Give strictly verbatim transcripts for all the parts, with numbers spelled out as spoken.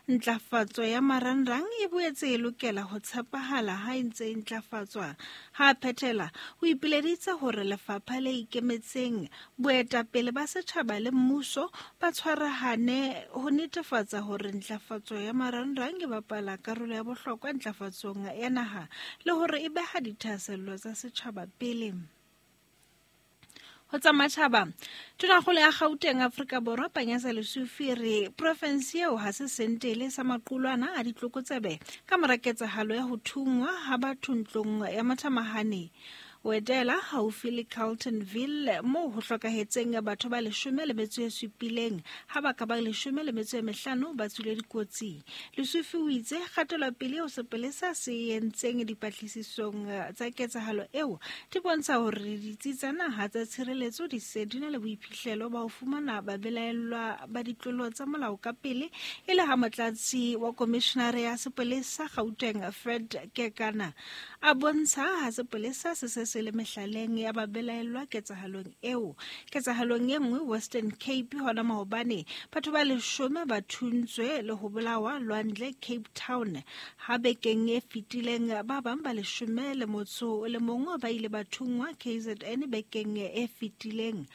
Ntlafatso ya marangrang e boetse e lokela ho tshepahala ha e ntse e ntlafatswa. Ha a phethela, o ipileditse hore lefapha le ikemetseng, boetapele ba setjhaba le mmuso ba tshwarahane ho netefatsa hore ntlafatso ya marangrang e bapala karolo ya bohlokwa ntlafatsong ya naha le hore e beha dithahasello tsa setjhaba pele. Ho tsa matjhaba, Tonakgolo ya Gauteng Afrika Borwa Panyaza Lesufi re province eo ha se sentele sa maqulwana a ditlokotsebe ka mora ketsahalo ya ho thungwa ha batho ntlong ya Mathamahane Wedela haufi le Carltonville moo ho hlokahetseng batho ba leshome le metso e supileng ha ba ka ba leshome le metso e mehlano ba tswile dikotsi. Lesufi o itse kgatelopele eo sepolesa se entseng dipatlisisong tsa ketsahalo eo di bontsha hore ditsi tsa naha tsa tshireletso di se di na le boiphihlelo ba ho fumana babelaellwa ba ditlolo tsa molao ka pele, e le ha motlatsi wa komishenare ya sepolesa Gauteng Fred Kekana a bontsha ha sepolesa se se se le mehlaleng ya babelaellwa ketsahalong eo. Ketsahalong e nngwe Western Cape hona maobane batho ba leshome ba thuntswe le ho bolawa Lwandle Cape Town. Ha bekeng e fetileng ba bang ba leshome le motso o le mong ba ile ba thungwa K Z N bekeng e fetileng.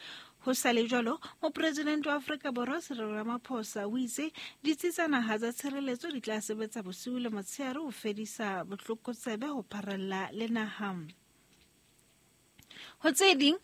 Ho sa le jwalo, mopresidente wa Afrika Borwa Cyril Ramaphosa o itse ditsi tsa naha tsa tshireletso di tla sebetsa bosiu le motshehare ho fedisa botlokotsebe ho pharalla le naha. Ho tse ding,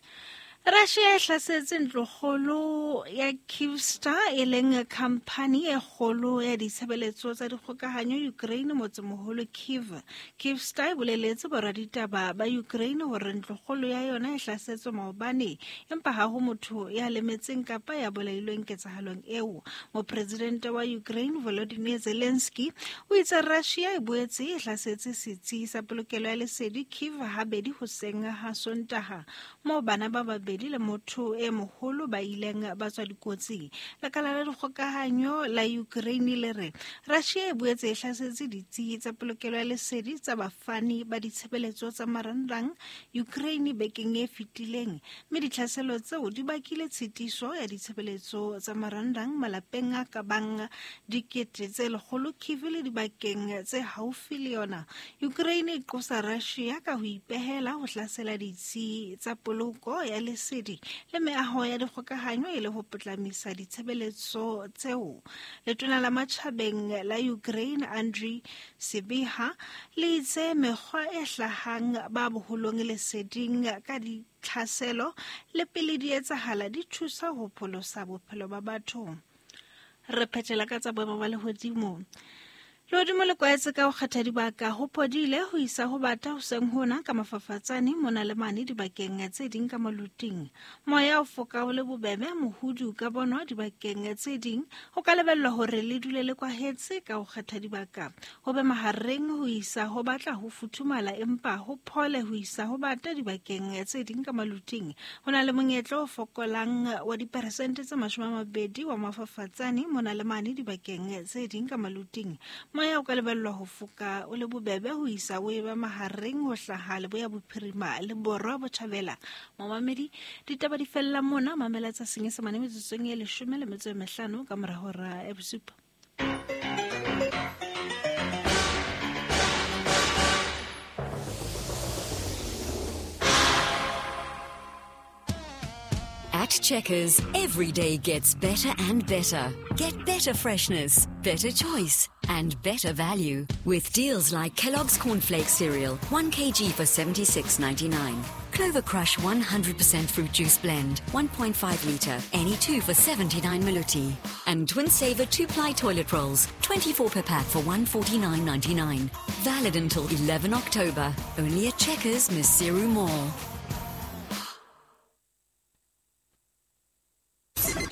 Russia e hlasetse ntlokgolo ya Kyivstar e leng khamphani e kgolo ya ditshebeletso tsa dikgokahanyo Ukraine motsemoholo Kyiv. Kyivstar e boleletse boraditaba ba Ukraine hore ntlokgolo ya yona e hlasetswe maobane, empa ha ho motho ya lemetseng kapa ya bolailweng ketsahalong eo. Mopresidente wa Ukraine Volodymyr Zelensky o itse Russia e boetse e hlasetse setsi sa polokelo ya lesedi Kyiv habedi hoseng ha Sontaha, moo bana ba babedi le motho e moholo ba ileng ba tswa dikotsing. Lekala la dikgokahanyo la Ukraine le re Russia e boetse e hlasetse ditsi tsa polokelo ya lesedi tsa bafani ba ditshebeletso tsa marangrang Ukraine bekeng e fetileng, mme ditlhaselo tseo di bakile tshitiso ya ditshebeletso tsa marangrang malapeng a ka bang dikete tse lekgolo Kyiv le dibakeng tse haufi le yona. Ukraine e qosa Russia ka ho ipehela ho hlasela ditsi tsa poloko ya lesedi le meaho ya dikgokahanyo e le ho potlamisa ditshebeletso tseo. Letona la matjhabeng la Ukraine Andriy Sybiha le itse mekgwa e hlahang ba boholong leseding ka ditlhaselo le pele di etsahala di thusa ho pholosa bophelo ba batho. Re phethela ka tsa boemo ba lehodimo. Lehodimo le kwaetse ka ho kgetha dibaka ho phodile ho isa ho bata hoseng hona ka mafafatsane mona le mane dibakeng tse ding ka maluting. Moya o foka o le bobebe mohudu ka bonwa dibakeng tse ding. Ho ka lebellwa hore le dule le kwahetse ka ho kgetha dibaka. Ho be mahareng ho isa ho batla ho futhumala empa ho phole ho isa ho bata dibakeng tse ding ka maluting. Ho na le monyetla o fokolang wa diperesente tse mashome a mabedi wa mafafatsane mona le mane dibakeng tse ding ka maluting. Moya o ka lebellwa ho foka o le bobebe ho isa o eba mahareng ho hlaha leboya bophirima le borwa botjhabela. Momamedi, ditaba di fella mona, mamela tsa Senyesemane metsotsong e leshome le metso e mehlano ka mora hora ya bosupa. At Checkers, every day gets better and better. Get better freshness, better choice, and better value with deals like Kellogg's Cornflakes cereal, one kilogram for seventy-six ninety-nine. Clover Crush one hundred percent fruit juice blend, one point five litre, any two for seventy-nine maluti. And Twin Saver two-ply toilet rolls, twenty-four per pack for one forty-nine ninety-nine. Valid until eleven October. Only at Checkers, Maseru Mall.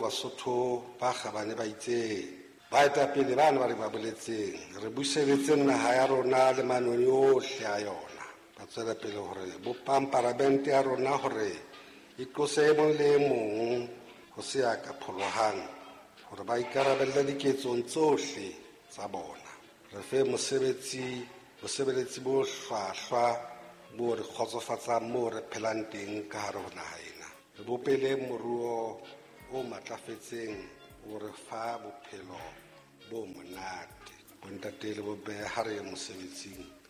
Basotho ba kgabane ba itse baetapele bana ba re ba boletseng re buseletse naha ya rona le manoni ohle a yona. Ba tswela pele hore bopang paramente ya rona hore e tlose e mong le e mong ho se ya ka pholohang hore ba ikarabelle diketsong tsohle tsa bona. Re fe mosebetsi bosebeletsi bo hlwahlwa bo re kgotsofatsang moo re phelang teng ka hare ho naha ena. Re bopele moruo o matlafetseng o re fa bophelo bo monate. Bontate le bomme, ha re ye mosebetsing.